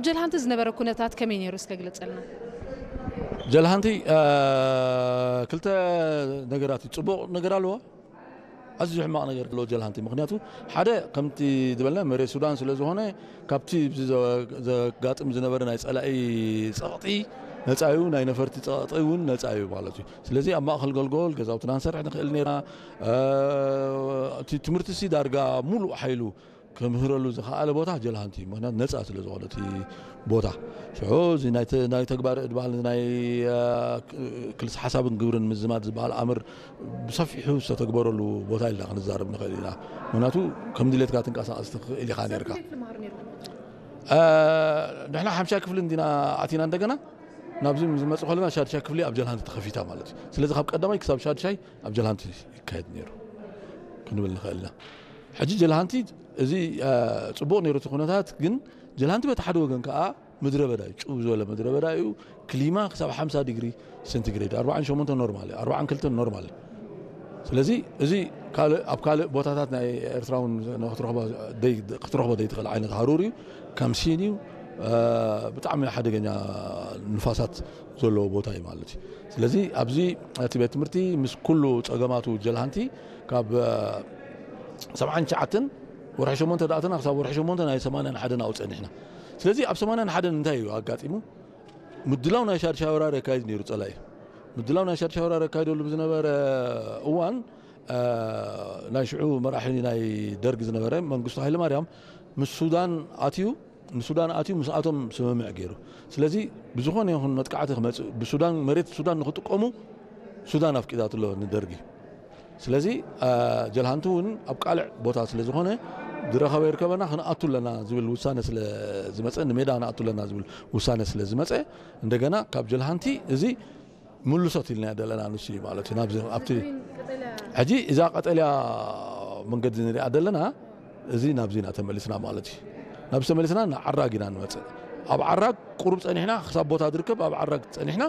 ጀልሃንቲ ዝነበረ ኩነታት ከመይ ነይሩ እስከ ግለጸልና። ጀልሃንቲ ክልተ ነገራት እዩ። ፅቡቕ ነገር ኣለዎ፣ ኣዝዩ ሕማቕ ነገር ኣለዎ ጀልሃንቲ። ምክንያቱ ሓደ ከምቲ ዝበልና መሬት ሱዳን ስለ ዝኾነ ካብቲ ዘጋጥም ዝነበረ ናይ ፀላኢ ፀቕጢ ነፃ እዩ፣ ናይ ነፈርቲ ፀቕጢ እውን ነፃ እዩ ማለት እዩ። ስለዚ ኣብ ማእኸል ገልጎል ገዛውትና ንሰርሕ ንኽእል ነርና። እቲ ትምህርቲ ሲ ዳርጋ ሙሉእ ሓይሉ ከምህረሉ ዝኸኣለ ቦታ ጀልሃንቲ እዩ። ምክንያቱ ነፃ ስለ ዝኾነ እቲ ቦታ ሽዑ እዚ ናይ ተግባር እድባል ናይ ክልስ ሓሳብን ግብርን ምዝማድ ዝበሃል ኣምር ብሰፊሑ ዝተተግበረሉ ቦታ ኢልና ክንዛረብ ንኽእል ኢና። ምክንያቱ ከም ድሌትካ ትንቀሳቐስ ትኽእል ኢኻ ነርካ። ንሕና ሓምሻ ክፍሊ እንዲና ኣቲና እንደገና ናብዚ ዝመፅእ ከለና ሻድሻ ክፍሊ ኣብ ጀልሃንቲ ተኸፊታ ማለት እዩ። ስለዚ ካብ ቀዳማይ ክሳብ ሻድሻይ ኣብ ጀልሃንቲ ይካየድ ነይሩ ክንብል ንኽእል ኢና። ሕጂ ጀልሃንቲ እዚ ፅቡቕ ነይሩ እቲ ኩነታት፣ ግን ጀልሃንቲ በቲ ሓደ ወገን ከዓ ምድረ በዳ እዩ፣ ጭው ዝበለ ምድረ በዳ እዩ። ክሊማ ክሳብ ሓምሳ ዲግሪ ሴንቲግሬድ፣ ኣርባዓን ሸሞንተን ኖርማል እዩ፣ ኣርባዓን ክልተን ኖርማል እዩ። ስለዚ እዚ ካልእ ኣብ ካልእ ቦታታት ናይ ኤርትራ እውን ክትረኽቦ ዘይትኽእል ዓይነት ሃሩር እዩ። ከም ሲን እዩ፣ ብጣዕሚ ሓደገኛ ንፋሳት ዘለዎ ቦታ እዩ ማለት እዩ። ስለዚ ኣብዚ እቲ ቤት ትምህርቲ ምስ ኩሉ ፀገማቱ ጀልሃንቲ ካብ ሰብዓን ትሽዓተን ወርሒ ሸሞንተ ዳእተና ክሳብ ወርሒ ሸሞንተ ናይ ሰማንያን ሓደን ኣብኡ ፀኒሕና። ስለዚ ኣብ ሰማንያን ሓደን እንታይ እዩ ኣጋጢሙ? ምድላው ናይ ሻድሻይ ወራር የካይድ ነይሩ ፀላኢ። ምድላው ናይ ሻድሻይ ወራር የካይደሉ ብዝነበረ እዋን ናይ ሽዑ መራሒ ናይ ደርግ ዝነበረ መንግስቱ ሃይለማርያም ምስ ሱዳን ኣትዩ ንሱዳን ኣትዩ ምስኣቶም ስምምዕ ገይሩ። ስለዚ ብዝኾነ ይኹን መጥቃዕቲ ክመፅእ ብሱዳን መሬት ሱዳን ንክጥቀሙ ሱዳን ኣፍቂዳትሎ ንደርጊ። ስለዚ ጀልሃንቲ እውን ኣብ ቃልዕ ቦታ ስለ ዝኾነ ዝረኸበ ይርከበና ክንኣቱ ኣለና ዝብል ውሳነ ስለ ዝመፀ፣ ንሜዳ ንኣቱ ኣለና ዝብል ውሳነ ስለ ዝመፀ እንደገና ካብ ጀልሃንቲ እዚ ምልሶት ኢልና ዘለና ንሱ እዩ ማለት እዩ። ናብዚ ኣብቲ ሕጂ እዛ ቀጠልያ መንገዲ ንሪኣ ዘለና እዚ ናብዚ ኢና ተመሊስና ማለት እዩ። ናብዚ ተመሊስና ንዓራግ ኢና ንመፅእ። ኣብ ዓራግ ቁሩብ ፀኒሕና ክሳብ ቦታ ዝርከብ ኣብ ዓራግ ፀኒሕና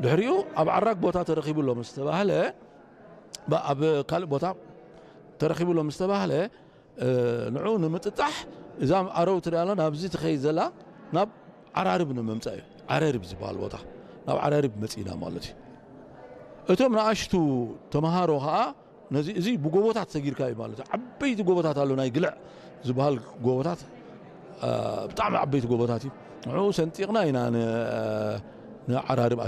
ድሕሪኡ ኣብ ዓራግ ቦታ ተረኺቡ ኣሎ ምስ ተባህለ ብ- ኣብ ካልእ ቦታ ተረኺቡ ኣሎ ምስ ተባህለ ንዑ ንምጥጣሕ እዛ ኣረው ትሪኣላ ናብዚ ትኸይድ ዘላ ናብ ዓራርብ ንምምፃእ እዩ። ዓረርብ ዝበሃል ቦታ ናብ ዓራርብ መፂእና ማለት እዩ። እቶም ንኣሽቱ ተምሃሮ ከዓ ነዚ እዚ ብጎቦታት ሰጊርካ እዩ ማለት እዩ። ዓበይቲ ጎቦታት ኣሎ ናይ ግልዕ ዝበሃል ጎቦታት ብጣዕሚ ዓበይቲ ጎቦታት እዩ። ንዑ ሰንጢቕና ኢና ንዓራርብ